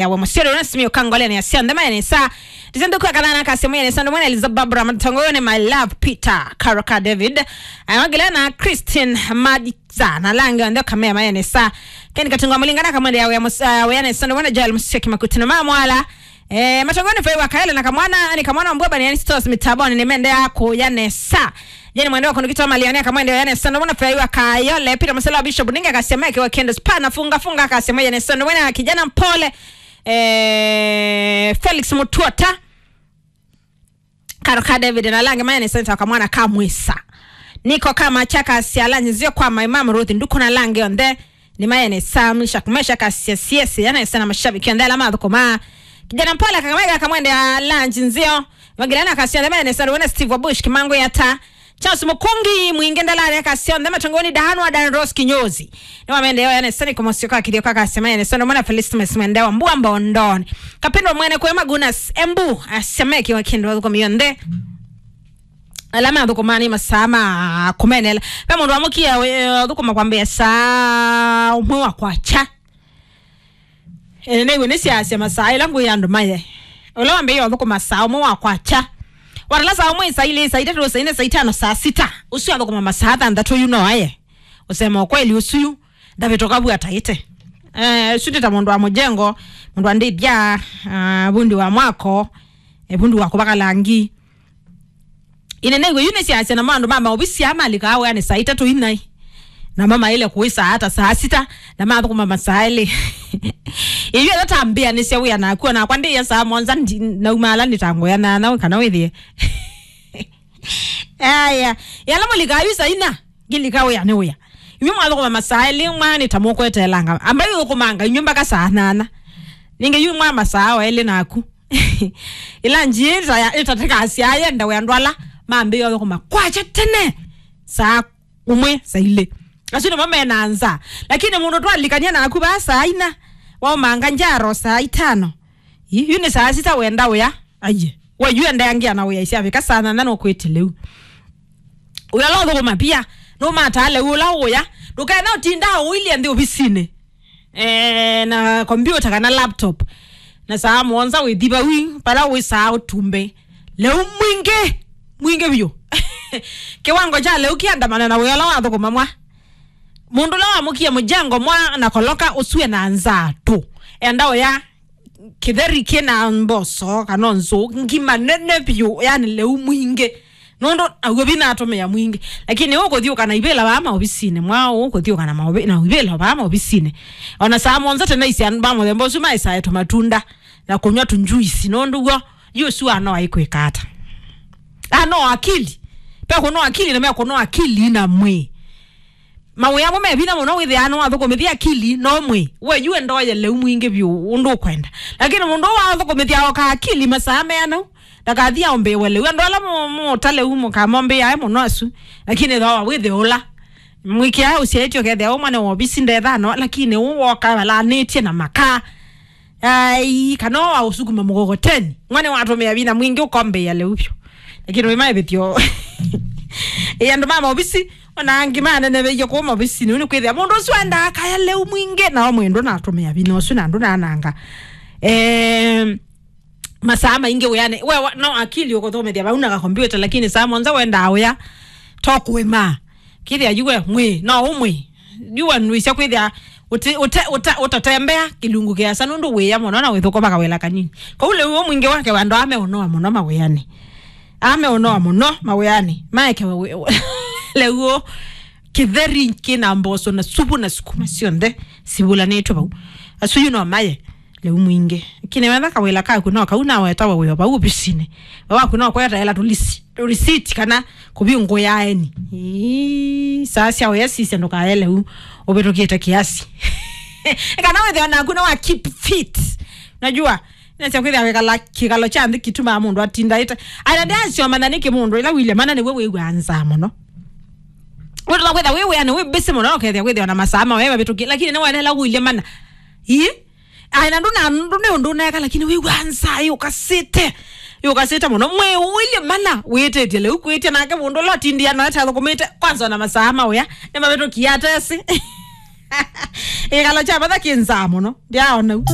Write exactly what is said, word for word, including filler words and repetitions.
ya we mũsyĩ ũrĩa ũnasimia ũkangolea nĩ asya nthema ya nesa. Ndizendo kwa kadhana kasi mwenye nesa ndo mwana Eliza Barbara Matongo ni my love Peter Karoka David. Ayongela na Christine Madiza na lange ndo kamea maya nesa. Ken Katunga Mulingana kamwende ya we mus-, uh, we nesa ndo mwana Joel Musiki Makutino mama mwala. Eh, Matongoni fai wa Kaele na kamwana, ni kamwana mbwa bani yani stores mitaboni ni mende yako ya nesa. Jeni mwende wa kundukitwa malioni ya kamwende ya nesa ndo mwana fai wa Kayole Peter Musela Bishop ninga kasema yake wa kendo spa na funga funga kasema ya nesa ndo mwana kijana mpole. Eh, Felix Mutuota. Karoka David na lange maya nesa nita kamwana kamwisa. Niko kama chaka siala nzio kwa my mom Ruth nduko na lange onthe. Ni maya nesa mlisha kumesha kasia siesi ya nesa na mashabiki onthe ala mathukuma. Kijana mpole Kakamega kamwende ya lunch nzio. Magilana kasia onthe maya nesa wena Steve Bush Kimango ya ta. Charles Mukungi mwingi ndalare kasia onthe Matongoni Dahanwa Dan Rose Kinyozi. Ni wamende yo ya nesa ni kumosio kwa kithio kwa kasia maya nesa ndo mwana Felicitas Mwende wa Mbua Mbondoni. Kapendo mwene kwe Magunas Embu asemeki wa kendo thukumi onthe. Ala mathũkũma nĩ masaa ma kũmenela. Ve mũndũ amũkie ũthũkũma kwambĩa saa ũmwe wa kwakya. Ene nĩw'o nĩsyaasya masaa ĩla ngwĩ andũ maye. Ũla wambĩĩe ũthũkũma saa ũmwe wa kwakya. Watala saa ũmwe, saa ilĩ, saa itatũ, saa ine, saa itano, saa sita. Ũsu athũkũma masaa thanthatũ yu no aye. Usema ukweli ũsu yu. Ndavĩtũka vu ataĩte. Eh, ũsu ndĩ ta mũndũ wa mũjengo, mũndũ wa ndĩthya, ah, vundi wa mwako, eh, vundi wa kũvaka langi. Ine nĩw'o yu nĩsyaasya namo andũ ma maovisi aa malikaa wĩanĩ saa itatũ inai. Namo maĩle kũĩsaa ata saa sita, na mathũkũma masaa elĩ. Ĩyu ĩla tambĩanĩsya wĩa naku, onakwa ndĩĩa saa mũonza ndi-, naumaala nĩtangoya nana kana wĩthĩe. Aya, yala mũlikaa yu saa ina, ngĩlika wĩa nĩ wĩa. Inyuĩ mwathũkũma masaa elĩ mwana nĩ ta mũkweteelanga. Ambai ũthũkũmanga inyuĩ mpaka saa nana. Ningĩ yu mwa masaa o elĩ naku. Ĩla njiĩ ĩta-, ĩtatĩkasya yenda wĩa andũ ala mambĩĩe ũthũkũma kwakya tene saa ũmwe, saa ilĩ. Asu nĩmo mena nza. Lakini mũndũ twalikania naku vaa saa ina, waumanga njaro saa itano. Ĩ, yu nĩ saa sita wenda wĩa. Aiye. We yu endeangia na wĩa isyavika saa nana nũkwĩtĩ lĩu. Wĩa ũla ũthũkũma pia, nũmataa lĩu ũla ũya. Ndũkena ũtinda ũilye nthĩ ovisinĩ. Eh, na kompyuta kana laptop. Na saa mũonza wĩthi vau, vala wĩ saa ũtumbe. Lĩu mwingĩ, mwingĩ vyũ. Kĩwango kya lĩu kĩandamana na wĩa ũla wathũkũma mwa. Mũndũ ũla wamũkie mũjengo mwa na koloka ũsu ena nzaa tũ. Enda ũya kĩtheri kĩna mboso kana nzũ ngima nene vyũ, yani lĩu mwingĩ. Nũndũ aw'o vina atũmĩa mwingĩ. Lakini ũkũthiũka na ivĩla vaa maovisinĩ, mwa ũkũthiũka na maovi-, na ivĩla vaa maovisinĩ. Ona saa mũonza tene isi andũ ma mũthemba ũsu maesae tũmatunda na kũnyw'a tũnjuisi. Nũndũ w'o, yu ũsu anoa ikwĩka ata? Anoa akili. Pe kũnoa akili na mekũnoa akili na mwĩĩ. Mawĩa amwe me vinya mũno wĩthĩaa nĩwathũkũmĩthya akili no mwĩĩ. We yu endoye lĩu mwingĩ vyũ ũndũ ũkwenda. Lakini mũndũ ũũ wathũkũmĩthya oka akili masaa meana u, ndakathi aũmbĩĩwe lĩu. Andũ ala mũ-, mũta lĩu mũkamombĩĩae mũno asu. Lakini thooa wĩthĩe ũla. Mwĩkĩae ũsyaĩtye ũkethĩa ũmwe nĩ wovisi ndethano, lakini ũũ woka valanĩtye na makaa. Ai, kana wa ũsukuma mkokoteni. Mwana watũmĩa vinya mwingĩ ũkombĩa lĩu vyũ. Lakini wĩ maĩvĩthyo. Ĩ andũ ma maovisi, ona angĩ maneneveie kũu maovisinĩ, nĩ kwĩthĩa mũndũ ũsu endaa kaya lĩu mwingĩ, nao mwĩndũ natũmĩa vinya ũsu na andũ nananga. Eh, masaa maingĩ wĩanĩ. We wa-, no akili ũkũthomethya vau na kakompyuta, lakini saa mũonza wendaa ũya, to kũĩmaa. Kĩthĩa yu we mwĩ, no ũmwĩ. Yu we nũisya kwĩthĩa ũti-, ũte-, ũta-, ũtatembea kĩlungu kĩasa nũndũ wĩya mũno na wĩthũkũma kawĩla kanini. Kau lĩu ũmwingĩ wake wandũ ame ũnoa mũno mawĩanĩ. Ame ũnoa mũno mawĩanĩ. Maekewe wĩ-, lĩu kĩtheri kĩna mboso na supu na sukuma syonthe sivulanĩtwe vau. Asu yu no maye. Lĩu mwingĩ. Lakini wetha kawĩla kaku no kau na wetawa wĩo vau ovisinĩ. We waku no kwetaela tũlisi-, tũlisiti kana kũvingũya eni. Ii, saa sya wĩa sisya ndũkaye lĩu ũvĩtũkĩte kiasi. Kana wĩthĩwa naku nĩ wa keep fit. Najua, nasya kwĩthĩa wĩkala kĩkalo kya nthĩ kĩtumaa mũndũ atinda ĩte. Ana ndĩasyomanana nĩkĩ mũndũ ĩla wĩlye mana nĩwe wĩw'aa nzaa mũno. Wĩtũla kwĩtha wĩ wĩanĩ wĩ busy mũno ũkethĩa kwĩthĩwa na masaa ma wewe vĩtũkĩ, lakini nĩwenela wĩlye mana. Ii? Ai, na ndũna, ndũ nĩ ũndũ ũneka, lakini wĩw'a nzaa yũkasĩte. Yũkasĩte mũno. Mwĩĩ ũilye mana, wĩtĩtye lĩu kwĩtya nake mũndũ ũla ũtindia no etathũkũmĩte, kwanza ona masaa ma wĩa, nĩmavĩtũkie atesĩ. Ĩkalo kya vatha kĩ nzaa mũno. Ndyaona u.